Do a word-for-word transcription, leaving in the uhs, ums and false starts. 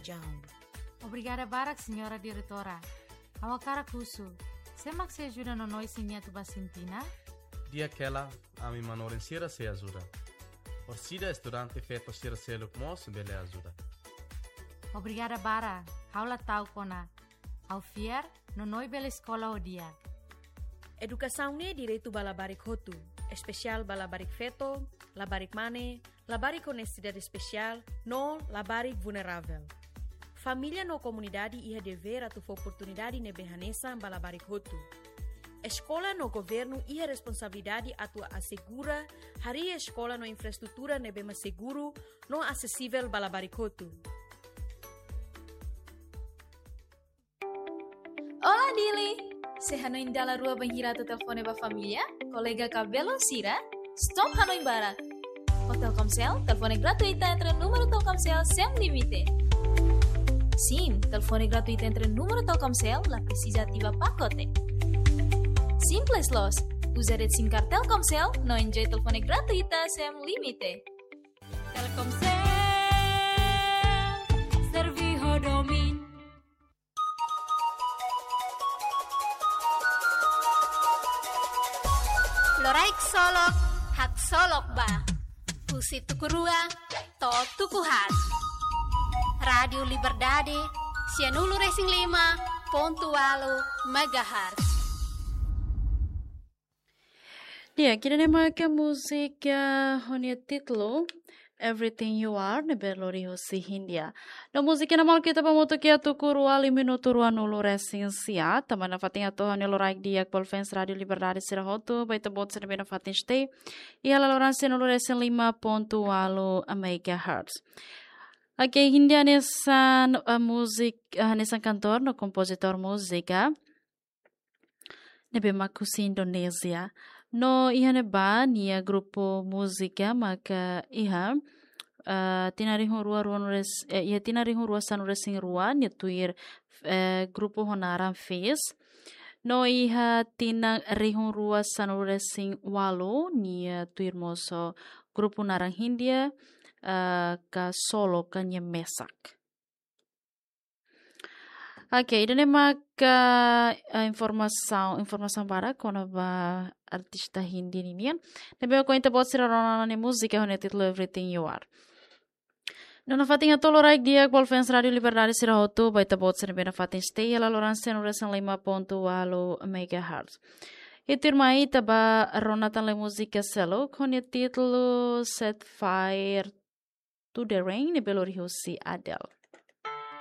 Jaun. Obrigada barak, Señora Diretora. Ha'u hakarak husu, sé mak sei ajuda nono isin nia atu ba Sintina? Di'ak hela, ami manorin sira sei ajuda. Orsida estudante feto sira seluk mós bele ajuda. Obrigada barak, ha'u la ta'uk ona. Ha'u fiar, nono bele eskola ho di'ak. Edukasaun ne'e direitu ba labarik hotu, espesiál ba labarik feto, labarik mane, labarik ho nesesidade espesiál, no labarik vulneravel. Família no komunidade iha devér atu fó oportunidade ne'ebé hanesan ba labarik hotu. Eskola no governu iha responsabilidade atu asegura harii eskola no infraestrutura ne'ebé mak seguru no asesivel ba labarik hotu. Olá, Dili! Sé hanoin dala rua bainhira atu telefone ba família, kolega ka belun sira? Stop hanoin barak! Ho Telkomsel, telefone gratuita entre númeru Telkomsel sem limite. Sim, telefone gratuita entre númeru Telkomsel, la presiza ativa pakote. Simples loos, uza rede SIM card Telkomsel, no enjoy telefone gratuita sem limite. Telkomsel, servi ho domin. Loraik solok, haksolok ba. Husi tuku rua, to'o tuku haat. Rádiu Liberdade, sianulu resin lima pontu ualu megahertz. Di'ak, ida-ne'e maka múzika ho nia títulu Everything You Are, ne'ebé lori husi Índia. No múzika ne'e maluk ita ba hamutuk iha tuku rua, liu minutu ruanulu resin sia, tanba nafatin atu ha'u-nia loraik di'ak ba fans Rádiu Liberdade sira hotu, ba ita-boot sira ne'ebé nafatin stay iha laloran sianulu resin lima pontu ualu megahertz. Oke, Índia hanesan, eh, múzik, eh, hanesan kantór no kompozitór múzika ne'ebé mak husi Indonézia. No iha ne'ebá nia grupu múzika maka iha, eh, tinan rihun rua ruanulu res-, eh, iha tinan rihun rua sanulu resin rua nia tuir, eh, grupu ho naran Fizz. No iha tinan rihun rua sanulu resin ualu nia tuir mós ho grupu naran Índia, eh, ka solo ka nia mesak. Oke, ida-ne'e maka, eh, informasaun, informasaun badak kona-ba artista Índia ninian. Ne'ebé ohin ita-boot sira rona ona nia múzika ho nia títulu Everything You Are. No nafatin ha'u hato'o loraik di'ak ba fans Rádiu Liberdade sira hotu, ba ita-boot sira ne'ebé nafatin stay iha laloran sianulu resin lima pontu ualu megahertz. Ita tuirmai ita ba rona tan lai múzika seluk ho nia títulu Set Fire to the Rain, ne'ebé lori husi Adele.